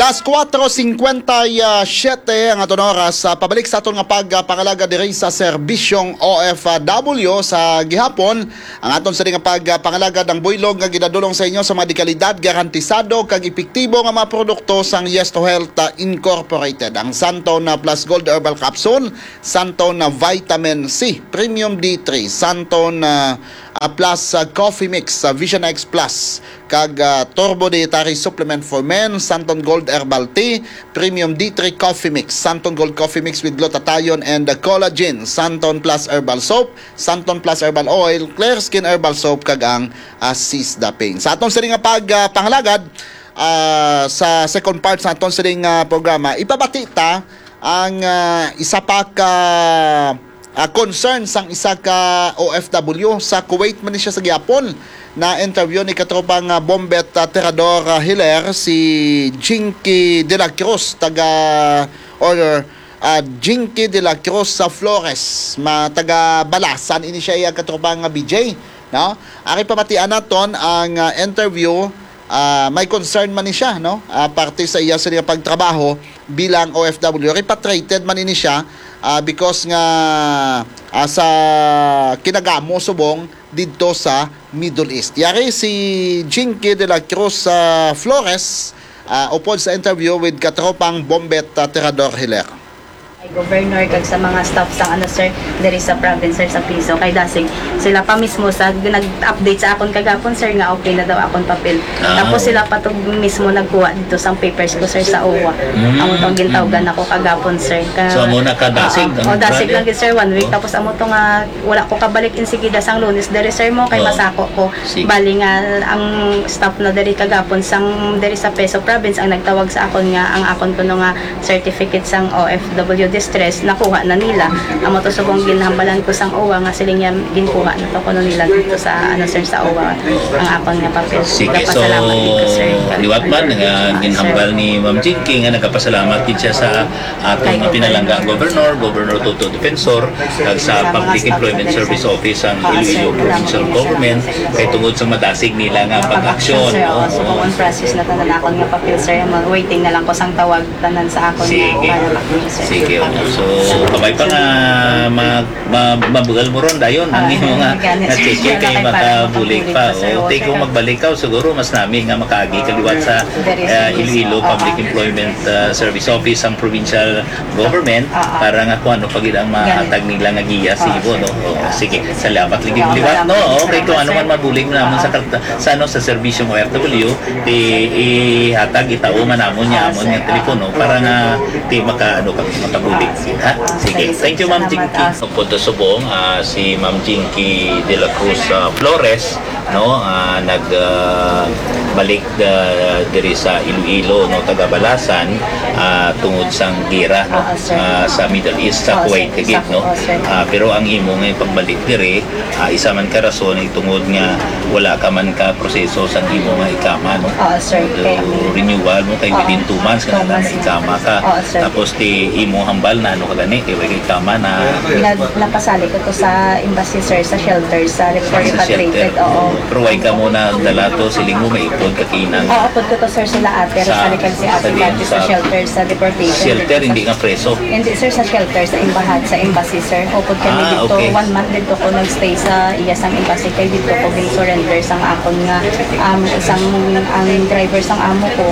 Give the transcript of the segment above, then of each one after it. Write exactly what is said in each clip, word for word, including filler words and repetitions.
Alas kuwatro singkwenta y siyete ang aton oras. Ah, pabalik sa aton nga pagpangalagad diri sa serbisyong O F W sa gihapon. Ang aton sini nga pagpangalagad ang buylog nga ginadulong sa inyo sa mga dekalidad, garantisado kag epektibo nga mga produkto sang Yes to Health, ah, Incorporated. Ang Santon, ah, Plus Gold Herbal Capsule, Santon, ah, Vitamin C, Premium D three, Santon, ah, ah, Plus, ah, Coffee Mix, ah, Vision X Plus, kag, ah, Turbo Dietary Supplement for Men, Santon Gold Herbal Tea, Premium D three Coffee Mix, Santon Gold Coffee Mix with Glutathione and, ah, Collagen, Santon Plus Herbal Soap, Santon Plus Herbal Oil, Clear Skin Herbal Soap, kag ang, ah, Sisda Pain. Sa aton sini nga pag, ah, pangalagad, ah, sa second part sa aton sining, ah, programa, ipabati ta ang, ah, isa pa ka, ah, concern sang isa ka O F W sa Kuwait man ni siya sa gihapon. Na-interview ni katropang, ah, Bombet, ah, Tirador, ah, Hiler, si Jinky de la Cruz, taga, or, ah, Jinky de la Cruz sa Flores, ma-, taga Balasan ini siya, iya katropang, ah, B J, no? Ari pamatian naton ang, ah, interview. Ah, may concern man ni siya, no? Ah, parte sa iya sini nga pagtrabaho bilang O F W. Repatriated man ini siya, ah, because nga, ah, sa kinagamo subong didto sa Middle East. Yari si Jinky de la Cruz, ah, Flores, ah, upod sa interview with katropang Bombet, ah, Tirador Hiler. Kay Governor kag sa mga staff sang, ano, sir, diri sa province, sir, sa piso. Kay dasig sila pa mismo sa nag-update sa akon kagapon, sir, nga okay na daw akon papel. Ah, Tapos oo. sila pa to mismo nagkuha dito sang papers ko, sir, sa O W A. Mm, Amo tong gintawgan mm. ako kagapon, sir. Ka- So, amo na ka dasig Ah, ang oh, dasig grabe. lang gid, sir, one week. Oh. Tapos amo to nga wala ko kabalik insigida sang Lunes diri, sir, mo kay Oh. masako ko. Sige. Bali nga ang staff na diri kagapon sang diri sa Peso Province ang nagtawag sa akon nga ang akon kuno nga certificate sang O F W distress nakuha na nila. Amo to subong ginhambalan ko sang O W A nga siling niya ginkuha na to kuno nila dito sa, ano, sir, sa O W A ang akon nga papel. Sige, so, Nagapasalamat gid ko, sir. liwat man nga Sir. ginhambal ni Ma'am Jinky nga nagapasalamat gid siya sa aton Kay nga pinalangga Governor. Governor, Governor Toto Defensor, kag sa Sa mga Public staff Employment sa Service Office ang Ah, Iloilo sir, Provincial salamat. Government, kay tungod sa madasig nila nga Pag-action, pag-aksyon, sir, oo, oo. so, kung on process na tanan akon nga papel, sir, ma-, waiting na lang ko sang tawag tanan sa akon Sige. nga para ma-approve, sir. Sige, oo. So, kabay pa nga mag-, ma-, mabugal mo ron dayon ang Ah, imo nga, gani, nga sir. cheque Wala kay kay para makabulig makabulig pa, pa, sir. oo. Tay, kung magbalik ka, siguro mas nami nga makaagi ka liwat sa, Very ah, serious. Iloilo Oo. Public Employment, ah, Service Office ang provincial government Ah, ah. para nga kung ano pa gid ang mahatag nila nga giya sa Ah, imo, sir. no? Oo, Ah, sige. sige, sir. Salamat lagi Salamat, liwat, no? salamat, Okay, kung ano sir. man mabulig namon sa Ah. karta-, sa, ano, sa serbisyong O F W, i-, ihatag, itao man namon niya Ah, amon sir. nga telepono Ah. para nga ti maka, ano, ka, makabulig. Ah, sige. Ha? Ah, Sige. sige, sir. Thank you, Ma'am Salamat. Jinky. Ah, Punto subong, ah, si Ma'am Jinky de la Cruz, ah, Flores, no, ah, nag, ah, balik, ah, diri sa Iloilo, no, taga Balasan, ah, tungod sang gera, no, Oo, sir. ah, sa Middle East, sa Oo, Kuwait, sir. higit, Sa, no? oo, sir. Ah, pero ang imo nga pagbalik diri, ah, isa man ka rason ay tungod nga wala ka man ka proseso sa imo nga ikama, no? Oo, sir. So, Kaya, renewal mo kay Oo. within two months ka Two na months. ikama ka. Oo, sir. Tapos ti imo hambal na ano ka gani, kay wala ka ikama na Na, napasali ko to sa embassy, sir, sa shelter, sa Sa repatriated, shelter. Oo. Pero why ka mo na dala to, siling mo may ipon ka kinang Oo, pud ko to, sir, sila ate, Sa, Rosalie, kag si sa ate din, Cathy, sa sa shelter, sa deportation. shelter, hindi nga preso. Hindi, sir, sa shelter, sa embahat, sa embassy, sir. Upod kami Ah, dito, okay. one month dito ko nag-stay sa iya sang embassy, kay dito ko gin-surrender sang akon nga, um, sang, ang driver sang amo ko,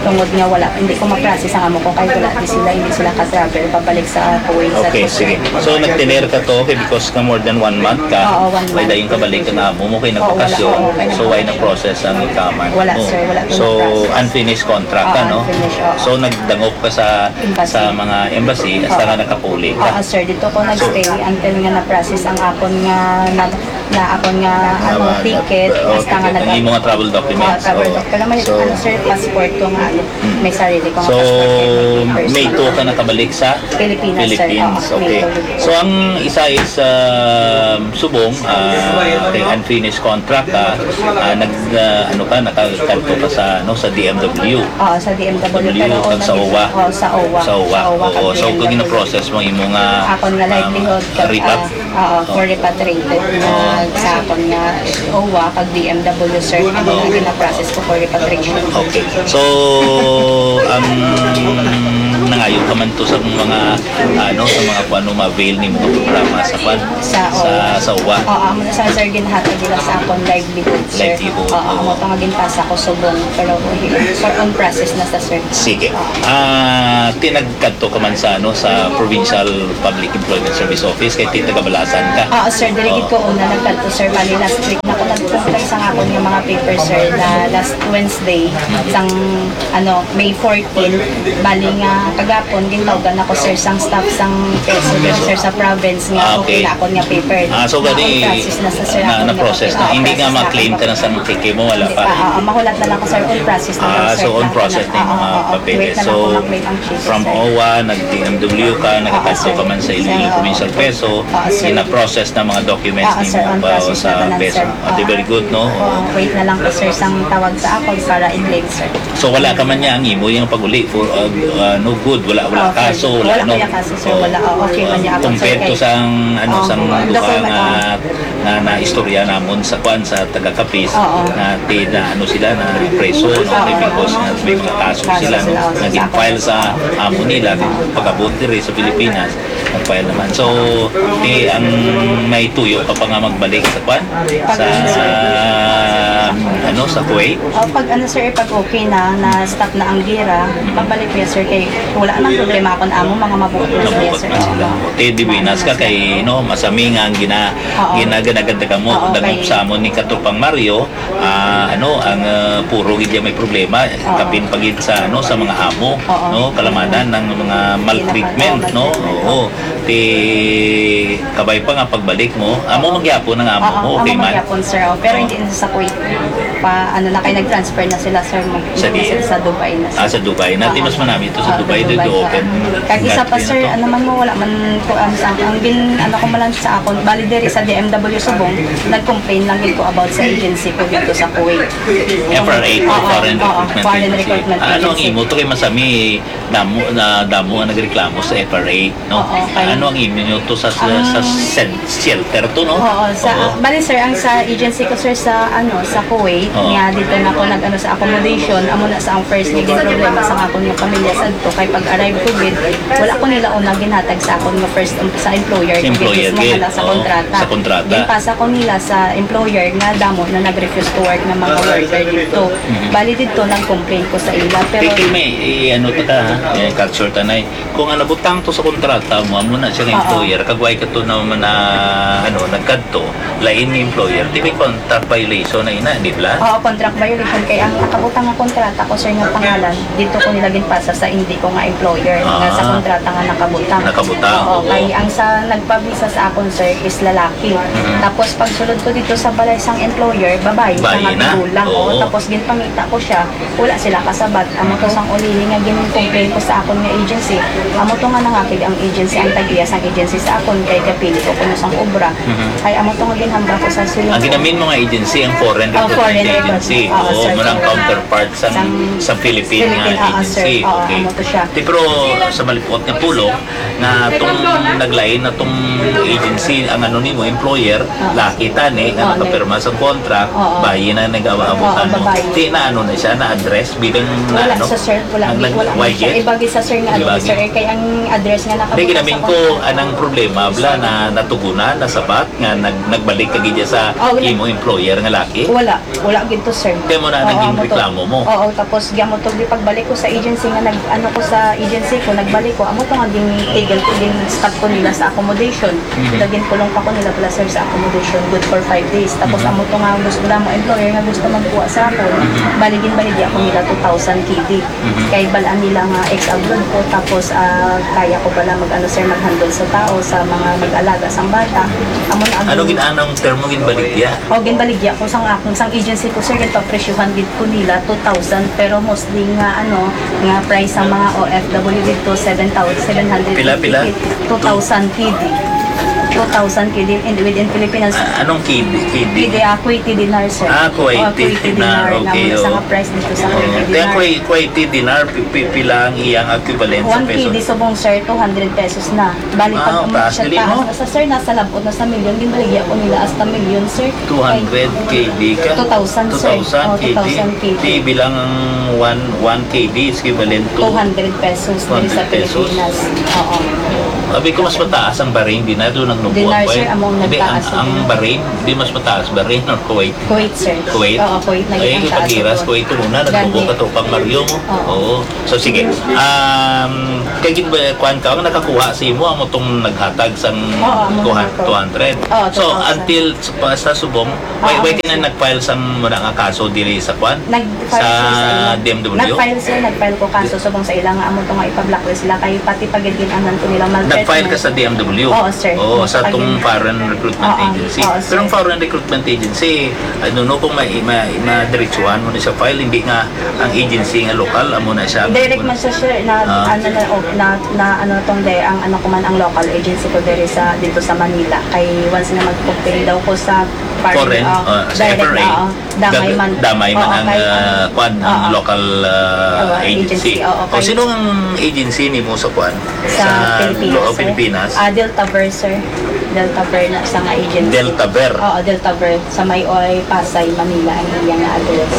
tungod nga wala, hindi ko ma-process ang amo ko, kay wala di sila, hindi sila ka-travel pabalik sa Kuwait, sa Okay, Dubai. sige. So, nagtener ka to, okay, because ka more than one month ka, Oo, one may month. dayon ka balik ka na amo mo kay Oo, wala. nagbakasyon. Oo, okay, So, why nag-, na-process ang ikaman Wala, mo? sir. Wala ko So, na-process. unfinished contract ka, Oo, no? unfinished, oo. So, nagdangop ka sa, Embassy. sa mga embassy, hasta Oo. nga nakapuli ka? Oo, sir. Dito ko So, nagstay until nga na-process ang akon nga, na, na akon nga, ano, Tama, ticket, oo, hasta nga ticket. Ang nag- imo nga travel documents. Oo, travel Oo. doc-, pero may, So, ano, sir, passport ko nga, ano, Mm. may sarili ko nga So, passport, may papers May na. two ka nakabalik sa Pilipinas, sir. Philippines. Oo, Okay. may two. So, ang isa is, um, subong, ah, kay unfinished contract, ah, ah, nag, ah, ano ka, nakakanto ka sa, ano, sa D M W. Oo, sa D M W, W, pero kag sa una, O W A. oo, sa O W A. Sa O W A. Sa O W A, Oo, kag so, kung D M W. gina-process mo imo nga, Akon nga um, livelihood, kag, repat-, ah, oo, Oo. for repatriated na Oo. Sa akon nga O W A kag D M W, sir, ang mga gina-process ko for repatriation. Okay. So, ang nangayo ka man to sa mga, ano, sa mga kung ano ma-avail nimo nga programa sa kwan? Sa Sa, O W A. Sa O W A. Oo, amo na sa, sir, ginhatag nila sa akon livelihood, sir. Livelihood, Oo, oo. amo to nga ginpasa ko subong, pero for on process na sa, sir. Sige. Oo. Ah, tinagkadto ka man sa, ano, sa Provincial Public Employment Service Office kay ti taga Balasan ka? Oo, sir, diri gid Oo. ko una nagkadto, sir. Bali, last week na ko nag-comply sa akon nga mga paper, sir, na last Wednesday, sang, ano, May fourteen. Bali nga, kagapon, gintawgan ako, sir, sang staff sang peso, sir, sa province nga Ah, okay okay. na akon nga paper. Ah, so, Na gani, on process na sa, sir, na, akon nga na-process na. papel. Oo, Hindi nga process na ma-claim akon. ka na sa cheque mo, wala Hindi pa. pa. Ah, ah, mahulat na lang ko, sir, on process na lang, Ah, sir, so on lang process kana. na yung Oo, mga oo, oo. papeles. Wait na lang So, kung ma-claim ang cheque, from sir. O W A, nag-D M W ka, Oo, nagkadto sir. ka man sa Iloilo Sir, oo. Provincial Peso, Oo, sir. gina-process na mga documents Oo, sir, nimo on pa process sa na tanan, peso. sir. Ah, di Oo. very good, no? Oo, wait na lang ko, sir, sang tawag sa akon para i-claim, sir. So, wala ka man niya ang imo yung pag-uli for, uh, uh, no good, wala, wala Okay. kaso, wala, Wala no? kuya kaso, sir, Oo. wala. Oh, okay man niya ako, sir, Compared to kay sang, ano, Oo, sang ang duha document, nga, oo. nga naistorya namon sa kwan, sa taga-Capiz, Oo. na ti-, na ano sila, na preso, no? Oo. Because nga may mga kaso Kaso sila, no? sila, oo, Nga sa gin-file sa amo nila, Oo. pag-abot diri sa Pilipinas, nag-file naman. So, ti, ang may tuyo ka pa nga magbalik sa kwan? Pag Sa, ano, sa Kuwait? O, pag ano, sir, pag okay na, na stop na ang gira, magbalik ko, sir, kay wala nang problema akon amo, mga mabuot na sila, Nabuot sir. na sila. Ti, di binas ka kay, no, masami nga ang gina-, Oo. gina-, ginagandagan mo, Oo, dagop kay sa amon ni Katropang Mario, ah, ano, ang, ah, puro gid may problema, Oo. kapin pa gid sa, ano, sa mga amo, Oo. no, kalamanan ng mga maltreatment, Oo, no? maltreatment. Oo. Ti, kabay pa nga pagbalik mo, amo man gyapon ang amo Oo, mo, okay amo man man? gyapon, sir. Oh, pero Oh. hindi na sa Kuwait. Pa, ano na, kay nag-transfer na sila, sir. Mag-, Sa di? sila sa Dubai na, sir. Ah, sa Dubai. Nati Oo. mas manami ito sa Oo, Dubai, sa dito Dubai, open oo. Kag isa pa, country na sir, to. ano man mo, wala man ko, um, sa, ang gin-, ano ko man lang sa akon, bali diri sa D M W Subong, nag-complain lang gid ko about sa agency ko dito sa Kuwait. F R A ko, Oo, Foreign oo, Recruitment Foreign Agency. Recruitment Ano ang Agency. imo to kay masami, damo na, damo ang nagreklamo sa F R A, no? Oo, kay Ano ang imo nyo to sa, sa, Ang sa sed-, shelter to, no? Oo, sa, Oo. bali, sir, ang sa agency ko, sir, sa, ano, sa Kuwait, Oo. nga dito na ko nag-ano sa accommodation, amo na sa ang first nga problema sa akon nga pamilya sadto, kay pag-arrive ko gid, wala ko nila una ginhatag sa akon nga first, um, sa employer Sa ko gid, employer mismo gid. nga sa Oo, kontrata. sa kontrata. Ginpasa ko nila sa employer nga damo na nag-refuse to work nga mga worker dito. Mhm. Bali dito, nag-complain ko sa ila, pero Kay, kay may, i-, ano ta ka, ha? Eh, culture ta na eh. Kung ang nabutang to sa kontrata mo, amo na siya nga Oo. employer, kag way ka to na, na, ano, nagkadto, lain nga employer, di may contract violation na ina, di ba? Oo, contract violation. Kay ang nakabutang nga kontrata ko, sir, nga pangalan, dito ko nila ginpasa sa hindi ko nga employer, nga sa Ah. kontrata nga nakabutang. Nakabutang, Oo, oo. kay ang sa nagpabisa sa akon, sir, is lalaki. Mhm. Tapos pagsulod ko dito sa balay sang employer, babayi, Bayi na. Nga tigulang, oo. Oo. Tapos ginpangita ko siya, wala sila kasabat. Amo to sang ulihi nga gin-complain ko sa akon nga agency. Amo to nga nangakig ang agency, ang tag-iya sang agency sa akon, kay kapili ko kuno sang obra. Mhm. Ay, amo to nga ginhambal ko sa sulod. Ang ginamin mo nga agency, ang foreign Oh, recruitment foreign agency. recruitment. Oo, Oo, sir. murang counterpart sa, Sang sa Philippine nga Philippine, oo, agency. sir. Oo, Okay. amo to siya. Di, pero sa malipuot nga pulong, nga tong naglain na tong agency, ang ano nimo, employer, Oo. laki tani, nga Oo, nakapirma sa contract, Oo. bayi na nag-awa-abot Oo, ano. babayi. Di na ano na siya, na-address bilang na Wala ano? sa sir, wala, Ang di, nag-, wala why na siya. yet? Iba gid sa sir nga ano, Iba sir, gid. eh, kay ang address nga Hindi, nakabutang ginamin sa ko, contract. anang problema, bala, na natugunan, nasabat, nga nag-, nagbalik ka gid sa Oh, wala. imo employer nga laki? Wala. Wala gid to, sir. Kaya mo na Oo, naging amo to. reklamo mo? Oo, tapos, amo to, di pagbalik ko sa agency nga nag-, ano ko sa agency ko, nagbalik ko, amo to nga gin-tigil ko, gin-stop ko nila sa accommodation. Mhm. Kaya ginkulong pa ko nila pala, sir, sa accommodation, good for five days. Tapos, Mhm. amo to nga gusto na mo, employer nga gusto magkuha sa ako, Mhm. bali, ginbaligya ko nila two thousand K D. Mhm. Kay balaan nila nga ex-abroad ko, tapos, ah, kaya ko pala mag-ano, sir, mag-handle sa tao, sa mga mag-alaga sang bata. Amo na ang Ano gin-, anong termo ginbaligya? O, ginbaligya ko sang akong, sang agency ko, sir, ginpapresyuhan gid ko nila two thousand, pero mostly nga, ano, nga price sa mga O F W dito, seven thousand, seven hundred Pila, pila? two thousand K D. two thousand K D in, within Pilipinas. Ah, anong K D? K D? K D, ah, Kuwaiti dinar, sir. Ah, Kuwaiti Oh, Kuwaiti dinar. Dinar. Okay, Naman sa oo. Nga price dito sa Oo. Kuwaiti Kaya dinar. Kuwai-, Kuwaiti dinar, pi-, pi-, pila ang iyang equivalent sa One peso? K D subong, sir, two hundred pesos na. Bali, Ah, pag ang taas siya dili, taas no? na sa, sir, nasa labot na sa milyon, ginbaligya ko nila hasta milyon, sir. Two hundred K D ka? Two thousand, sir. Two thousand Oh, K D? two thousand K D. Di bilang ang one, one K D is equivalent to Two hundred pesos diri sa two hundred pesos. Pilipinas. Oo. Sabi ko, mas mataas ang Bahrain din. Ito nagnubo Dinar, ako, sir, eh. Among Hindi, ang, nagtaas ang ang Bahrain, di mas mataas, Bahrain or Kuwait? Kuwait, sir. Kuwait? Oo, Kuwait na Ay, yung taas pag-iras, ako. Kuwait ito muna, Gani. Nagnubo ka, tropang Mario mo. Oo. Oo. So, sige. Um, kay gid ba, kuwan ka, ang nakakuha sa imo, amo tong naghatag sang Oo, amo kuha, nakakuha. Two hundred. Oo, So, two thousand. Until sa, pa, sa subong, why, Oo, why ka na sir. Nag-file sang muna nga kaso diri sa kuwan? Nag-file Sa siya sa ila. D M W? Nag-file siya, nag-file ko kaso subong sa ila nga amo to nga ipa-blacklist sila kay pati pa gid gin-anhan ko nila maltreatment. Nag-file ka sa D M W? Oo, sir. Oo, sa Nag-file tong yun. Foreign Recruitment Oo, Agency. Oo, sir. Pero ang Foreign Recruitment Agency, I don't know kung may, may, madiretsuhan mo na siya file, hindi nga ang agency nga lokal, amo na siya. Direct man siya, sir, na, Ah. ano na, oh, na, na, ano tong day, ang ano ko man, ang local agency ko diri sa, dito sa Manila. Kay once nga mag-complain daw ko sa Foreign, ah, sa direct, F R A. Oo. Damay Dag-, man. damay man Oo, ang, kay, ah, kwan, ang oo. Local, ah, Oo, agency. Agency, oo, O, kay sino ang agency nimo sa kwan? Sa Sa Pilipinas, lo-, sir. Pilipinas? Ah, Deltaver, sir. Deltaver na sa nga agency. Deltaver? Oo, Deltaver. Sa may Oy, Pasay, Manila, ang iya nga address.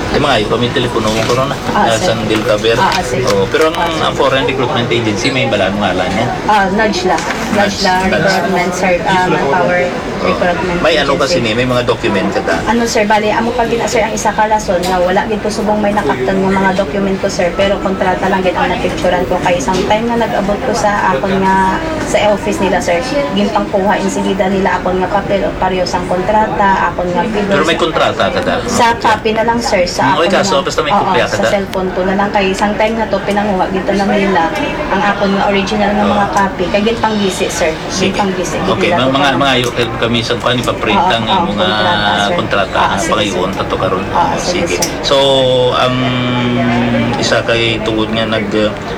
Di, mga ayo kami telepono mo karon, ah. Ah, Ah, sir. Sa Deltaver. Ah, ah, sir. Oo, pero ang, Ah, sir. Ang foreign recruitment agency, may balaan mo ngalan niya? Ah, NADSLA. NADSLA. NADSLA recruitment, sir. Ah, manpower. Oh. Recruitment May ano agency. Kasi ni, may mga document ka ta? Ano, sir, bali, amo pa gid, sir, ang isa ka rason nga wala gid ko subong may nakaptan nga mga document ko, sir, pero kontrata lang gid ang napicturan ko kay isang time nga nag-abot ko sa akon nga, sa office nila, sir, ginpangkuha insigida nila akon nga papel o pareho sang kontrata, akon nga fidor. Pero may kontrata ka ta? Sa copy na lang, sir, sa Mm, oy, akon kaso, nga, basta may oo, kopya ka sa ta? Cellphone ko na lang kay isang time na to pinanguha gid na nila ang akon nga original nga Oo. Mga copy kay ginpanggisi, sir. Sige. Pang-busy, Okay, hindi mga, lang mga, ako mga ayo kay kami sa kuan, ipaprint Oo, ang oo, imong, ah, kontrata, sir. Kontrata, Oo, ah, sige, pagayoon sir. Ta to karon. Oo, sige, Sige. Sir. So, ang isa kay tungod nga nag,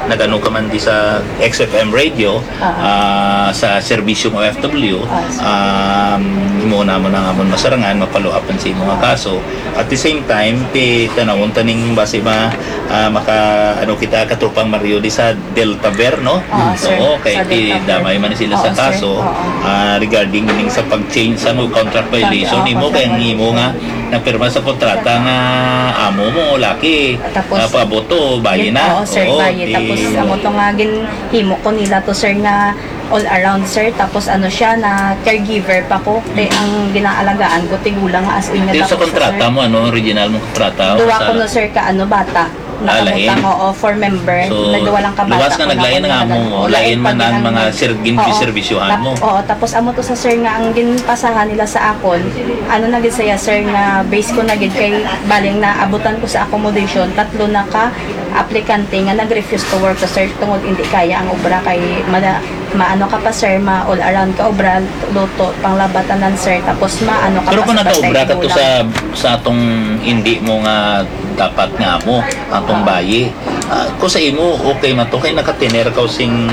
nag-ano ka man di sa X F M radio, Oo. Ah, sa Serbisyo ng O F W, Oo, sir. Um, imo na mo na nga amon masarangan, ma-follow up sa imong Oo. Kaso. At the same time, ti tanawon taning base ma, ah, maka, ano kita, katropang Mario di sa Deltaver, no? Oo, sir. Oo, kay Sa ti Deltaver. Damay man sila Oo, sa sir. Kaso, Oo. Ah, regarding ning sa pag-change sa mga contract violation, Contract, imo oo, kay ang contract imo nga violation. Napirma sa kontrata nga amo mo, laki, Tapos, ah, paabot to, bayi yun, na. Oo, sir, Oo, bayi. Di Tapos, amo to nga, ginhimo ko nila to, sir, nga all around, sir. Tapos, ano siya, na caregiver pa ko. Kay Mm. ang ginaalagaan ko, tigulang nga as in nga Di sa tapos, kontrata sir. Mo, ano, original mong kontrata? Duwa Sa ko, no, sir, ka, ano, bata. Ah, lain. Nakabutang, oo, four member. So, na duwa lang ka bata luwas nga ko na naglain ang naglain. Amo, Oo, lain lain man pa ang gid mga ang sir-, Oo. Ginpiserbisyohan Tap-, mo. Oo, tapos amo to sa sir nga ang ginpasahan nila sa akon, ano na gid saya, sir, nga base ko na gid kay baling naabutan ko sa accommodation, tatlo na ka aplikante nga nag-refuse to work sa sir tungod hindi kaya ang obra kay mada-, maano ka pa, sir, ma all around ka obra, luto, panglaba tanan, sir, tapos maano ka Pero pa kung sa nagaobra ka to tigulang. Sa, sa atong hindi mo nga dapat nga amo, atong Oo. Bayi, ah, kung sa imo, okay man to, kay nakatiner ka sing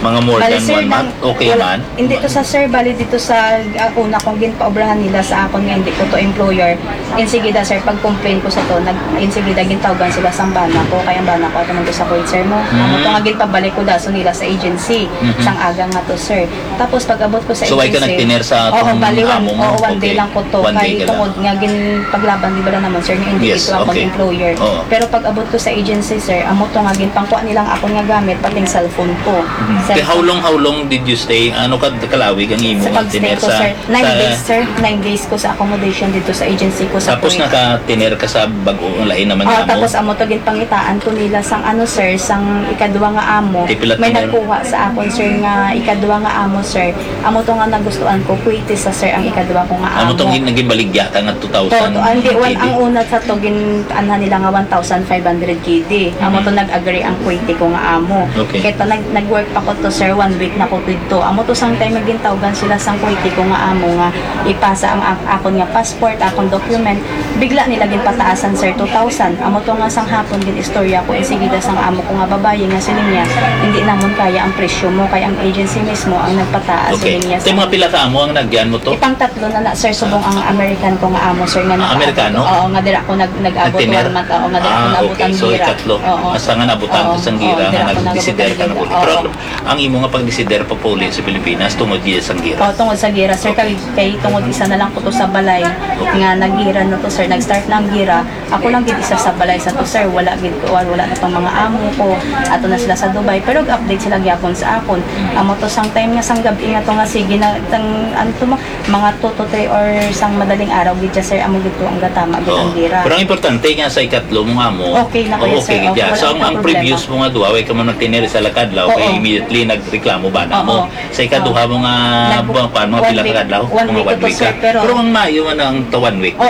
mga more Bali, than sir, one nang month, okay wala, man? hindi to sa, sir, bali dito sa, ah, una kong ginpaobrahan nila sa akon nga hindi ko to employer. Insigida, sir, pag-complain ko sa to, nag, insigida gintawgan sila sang bana ko, kay ang bana ko ato man to sa Kuwait, sir, no? Amo to Mm. nga ginpabalik ko dason nila sa agency, Mhm. sang aga nga to, sir. Tapos pag-abot ko sa So, why ka agency, nagtiner sa oo, atong bali, one, amo mo? Oo, one day Okay. lang ko to. One day Kay ka lang. Tungod nga ginpaglaban, di ba, na naman, sir, nga hindi Yes, ito akong okay. Employer. Oo. Pero pag-abot ko sa agency, sir, amo to nga ginpangkuha nilang akon nga gamit, pati ang cellphone ko. Mhm. Cellphone. Kay how long, how long did you stay? Ano ka, kalawig ang imo Sa pag-stay tiner ko, sa, sir, nine sa days, sir. Nine days ko sa accommodation dito sa agency ko sa Tapos Kuwait. Nakatiner ka sa bag-o, lain naman Oh, nga amo? Tapos amo to ginpangitaan ko nila sang ano, sir, sang ikadwa nga amo. Kay pila May tiner? Nagkuha sa akon, sir, nga ikadwa nga amo, sir. Amo to nga nagustuhan ko, Kuwaiti sa, sir, ang ikadwa ko nga Amo amo. Tong gin-, naging baligya ka nga two thousand K D? To, to, ah, hindi, one, ang una sa to, gin-, anha nila nga one thousand five hundred K D. Amo Mhm. To nag-agree ang Kuwaiti ko nga amo. Okay. Kay to, nag-, nag-work pa ko To, sir, one week na ko didto. Amo to, sang time nga gintawgan sila sang Kuwaiti ko nga amo nga ipasa ang ak-, akon nga passport, akon document, bigla nila ginpataasan, sir, two thousand. Amo to nga sang hapon gin-istorya ko insigida sang amo ko nga babayi nga siling niya, "Hindi namon kaya ang presyo mo, kay ang agency mismo ang nagpataas," Okay. siling niya Tay, sa mga pila ka amo ang nagyan mo to? Ipang tatlo na na, sir, subong ang American ko nga amo, sir, nga Ah, nakaabot. Amerikano? Oo, nga dira ko nag-, nag-abot Nag-tenor? one month, oo, nga dira ko Ah, naabot okay. ang So, gira. ikatlo. Oo. Asa nga naabutan Oo, ka sang oo, gira dira nga ko naabot nagdesider ang ka na gira. buli? Oo. Pero ang, ang imo nga pagdesider papauli sa Pilipinas tungod gid sang gira? Oh, tungod sa gira, sir, Okay. kay, kay tungod isa na lang ko to sa balay Okay. nga naggira na to, sir. Nag-start na ang gira. Ako lang gid isa sa balay sa to, sir. Wala gid ko, wala na tong mga amo ko. Ato na sila sa Dubai, pero update sila gyapon sa akon. Amo to sang time nga sang gabi nga to nga sige na tang ano to mo, mga two to three or sang madaling araw gid siya, sir. Amo gid to ang gatama gid ang Oo. gira. Pero ang importante nga sa ikatlo mo nga mo, Okay na kayo, okay sir. gid Okay, siya. wala So, ang, akong ang problema. previous mo nga duha, way ka mo nagtinir sa lakad, Oo. kay immediately nagreklamo ba na Oo. mo? Sa ikaduha Oo. mo nga Nag- buwan, pa, mga one pila ka week. adlaw? One Mga week one to, week sir, ka. pero Pero ang maayo man ang ta one week. Oo,